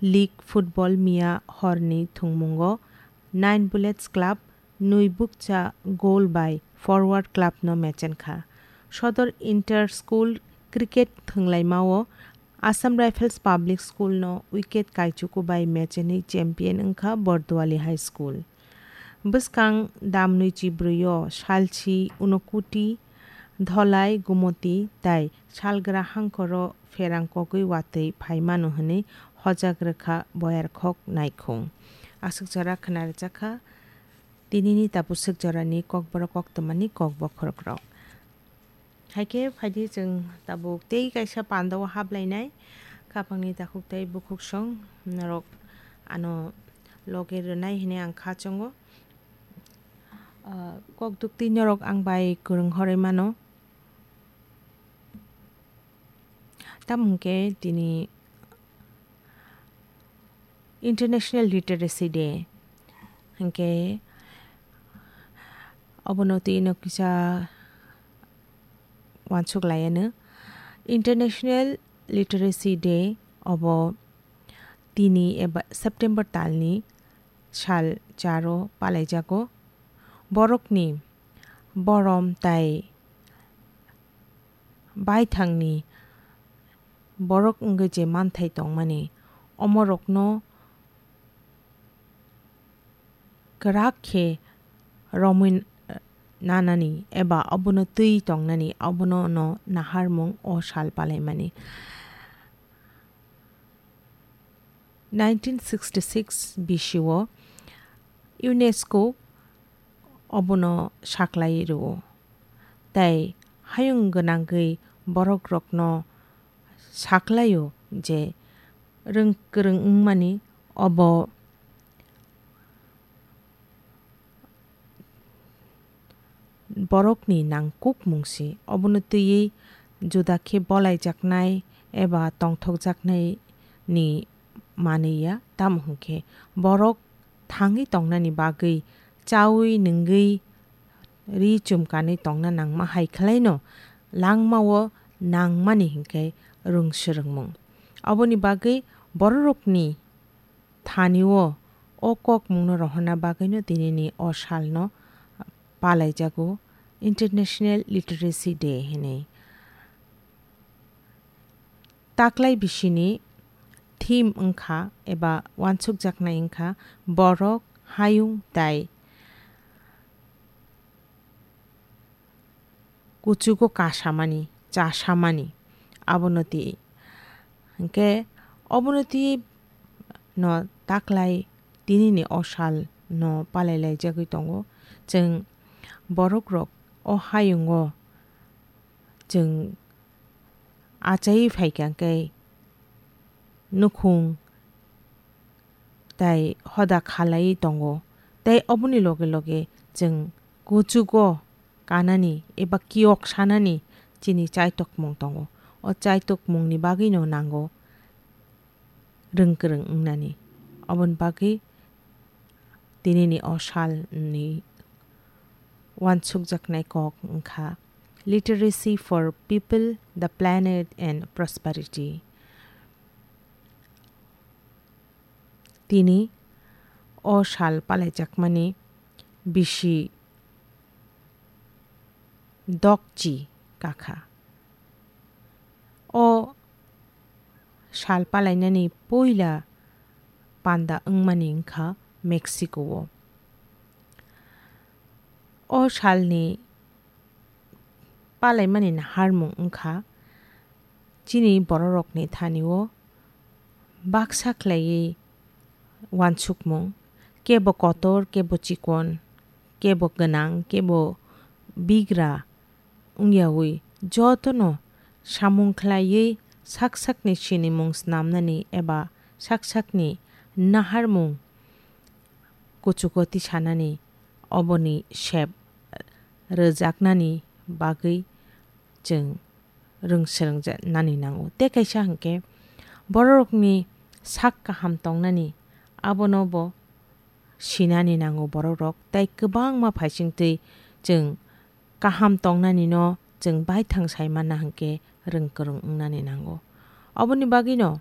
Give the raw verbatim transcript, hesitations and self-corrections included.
League football miya horni thwngmungo Nine Bullets Club nwi bukcha goal bai Forward Club no mechenkha. Sodor Inter School cricket thwnglaimao Assam Rifles Public School no wicket kaichuku bai mechenwi champion wngkha Borduali High School. Bwskang damnwi chibrwi o salsi Unokuti, Dholai, Gumoti tai salgra hangkoro pherang kogwi watwi phaimano hwnwi hojak rwkha Boyarkhok Naikhung. Aswk jora khwna rwjakha tinini tabuk swk jorani kokborok koktwmani kokbokhorokrok. Hai khe phaidi chwng tabuk tei kaisa pandao hablainai, khapangni takhuk tei bukhuksong norok ano loge rwnai hwnwi ang kha chongo. Ah, kok dukti norok ang bai kwrwng horwi mano. Tamo hwnkhe tini International Literacy Day. Hwnkhe obono twi no kisa wansuk lai anw. International Literacy Day obo tini eba September talni sal charo palaijago. Borokni borom tai baithangni borok wngwi je manthai tongmani, omorokno kwrak khe romwi nanani eba obono twi tongnani, obono no naharmung o sal palaimani. Nineteen sixty-six bisio UNESCO obono saklai rwo, tei hayung gwnangwi borokrokno saklaio je rwng kwrwng wngmani obo borokni nangkukmung se. Obono twiwi juda khe bolaijaknai eba tongthokjaknai ni manwi ya, tamo hwnkhe borok thangwi tongnani bagwi, chaui nungwi, ri chumkanwi tongna nangma hai khwlaino langmao nangmani hinkhe rwng swrwngmung. Oboni bagwi bororokni thanio o kokmungno rohorna bagwino tinini o salno palaijago International Literacy Day hinwi. Taklai bisini theme wngkha eba wansukjaknai wngkha borok, hayung tai kuchugo kasamani, chasamani, abono twi. Hinkhe obono twi no taklai tinini o sal no palailaijagwi tongo. Chwng borokrok o hayungo chwng achaiwi phaikha khe nukhung tai hoda khalaiwi tongo, tei oboni loge loge chwng kuchugo kanani eba kiyok sanani chini chaitokmung tongo. O chaitokmungni bagwino nango rwng kwrwng wngnani. Oboni bagwi tinini o salni wansukjaknai kok wngkha Literacy for People, the Planet and Prosperity. Tini o sal palaijakmani bisi dokchi kakha. O sal palainani puila panda wngmani wngkha Mexico-o. O salni palaimani naharmung wngkha chini bororokni thanio baksa khlaiwi wansukmung, kebo kotor, kebo chikon, kebo gwnang, kebo bigra wngyawi jotono samung khlaiwi sak sakni sinimung snamnani eba sak sakni naharmung kuchugo tisanani oboni sep rwjaknani bagwi chwng rwng swrwngjaknani nango. Tei kaisa hwnkhe bororokni sak kaham tongnani abono bo sinani nango bororok, tei kwbangma phaisingtwi chwng kaham tongnanino chwng baithang sai manna hwnkhe rwng kwrwng wngnani nango. Oboni bagwino